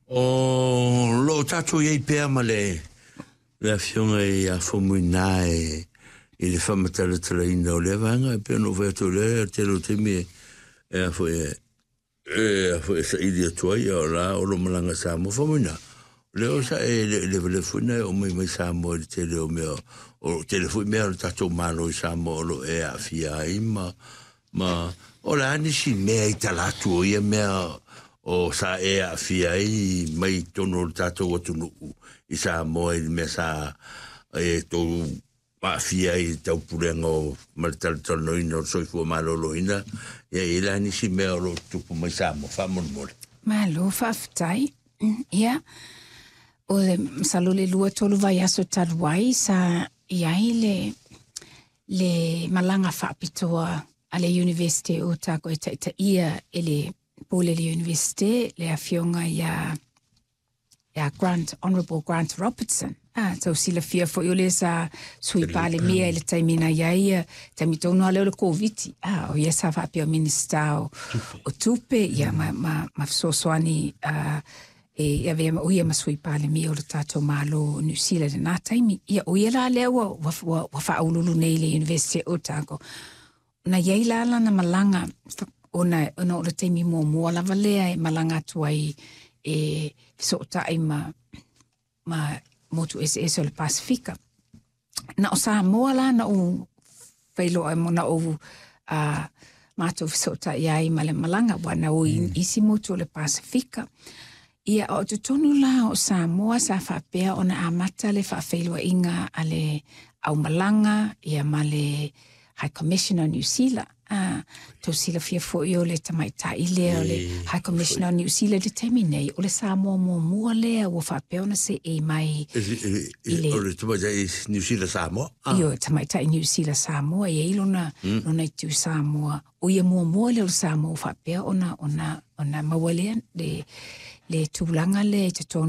O lo o tatou i ai pea ma le le Afioga ia Faumuina e i le faamatalatalaina o lea vaega e pei ona ou fai atu o lea tele o taimi e e a foi e e a foi e saili atu ai o la o lo malaga i Samoa. Faumuina, o lea o sa e levalefu ina e oo mai mai Samoa i le tele o mea o tele foi mea o le tatou Malo i Samoa o lo o e aafia ai ma Ma o le a nisi mea i tala atu o ia mea o sa e aafia ai mai totonu o le tatou atunuu i Samoa i le mea sa e tou aafia ai i le taupulega o ma le talatalanoaina o le soifua maloloina, ia e i ai la nisi mea o lo o tutupu mai Samoa faamolemole. Malo faafetai. Ia, o le masalo le 2, 3 vaiaso talu ai sa i ai le malaga faapitoa a le Iunivesite o Otago e taitaia e le pule le Iunivesite, le afioga ia Grant, Honourable Grant Robertson. Ah, tau silafia foi o le sa sui palemia i le taimi na i ai ia, taimi tonu lava lea o le Koviti. Ah, o ia sa faapea o Minisita o Tupe, ia ma fesoasoani e avea o ia ma sui palemia o le tatou Malo o Niu Sila i lena taimi. Ia, o ia la lea ua faauluulu nei i le Iunivesite o Otago. Na i ai la lana malaga, ona o le taimi muamua lava lea e malaga atu ai e fesootai ma motu eseese o le Pasifika. Na o Samoa la na ou failoa na ou matou fesootai ai ma le malaga, ua na o i isi motu o le Pasifika. Ia, o totonu la o Samoa sa faapea ona amata le faafeiloaiga a le aumalaga ia ma le High Commissioner o Niu Sila. Ah, tau silafia foi o le tamaitai lea o le High Commissioner o Niu Sila i le taimi nei, o le Samoa muamua lea ua faapea ona seei mai i le O le tamaitai Niu Sila Samoa. Io, tamaitai Niu Sila Samoa, e i ai lona itu Samoa. O ia muamua lea o le Samoa ua faapea ona maua lea le tulaga lea i totonu.